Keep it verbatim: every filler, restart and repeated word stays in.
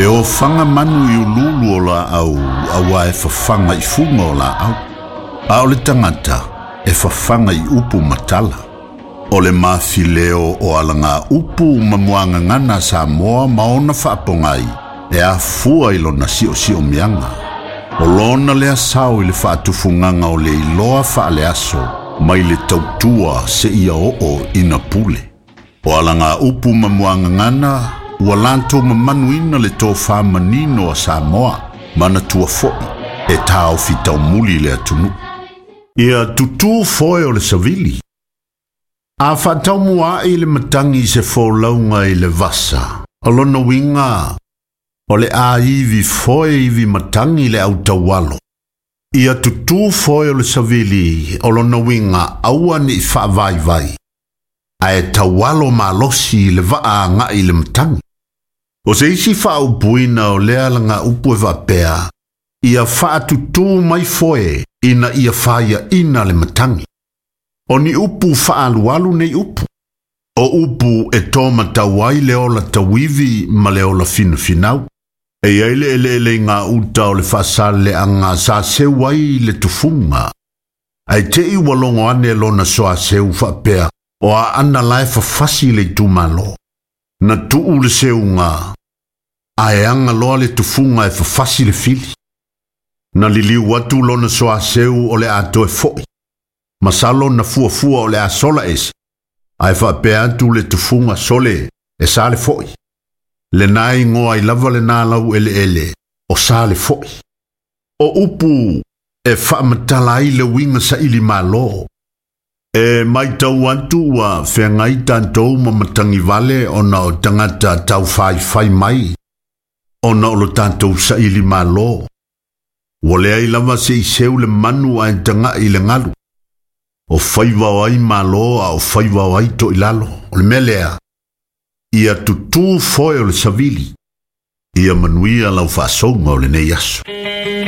E ofaga manu i ululu o laau auā e fafaga i fuga o laau. A o le tagata e fafaga i upu ma tala. O le mafileo o alaga upu ma muagagana a Samoa ma ona faapogai e afua i lona siosiomiaga. O lona lea sao i le faatufugaga o le iloa faaleaso mai le tautua seia oo ina pule. O alaga upu ma muagagana ua latou mamanuina le tofā manino a Samoa manatua fo'i e taofi taumuli le atunuu. Ia tutū foe o le savili. A faataumua'i le matagi i se folauga i le vasa, o lona uiga o le a ivi foe ivi matagi le autaualo. Ia tutū foe o le savili o lona uiga aua ne'i faavaivai, ae taualo malosi i le vaa aga'i i le matagi. O se isi faaupuina o lea alaga upu e faapea, ia faatutū mai foe ina ia faiaina le matagi. O ni upu faaalualu nei upu. O upu e tōmatau ai le ola tauivi ma le ola finafinau. E iai le eleele i gauta o le faasaleaga sa seu ai le tufuga. Ae te'i ua logo ane lona soaseu faapea o aana la e fafasi le itumalo. Na tuu le seuga, ae aga loa le tufuga e fafasi le fili. Na liliu atu lona soaseu o le a toe fo'i. Masalo na fuafua o le a sola ese, ae faapea atu le tufuga sole e sa le fo'i. Lena igoa ai lava lena laueleele o sa le fo'i. O upu e faamatala ai le uiga saili malo. E matau atu ua feagai tatou ma matagi vale ona o tagata taufaifai mai ona o lo tatou saili malo. Ua leai lava se i seu le manu ae taga'i i le galu. O faiva o ai malo a o faiva o ai toilalo. O le mea lea, ia tutū foe o le savili. Ia manuia lau faasouga o lenei aso.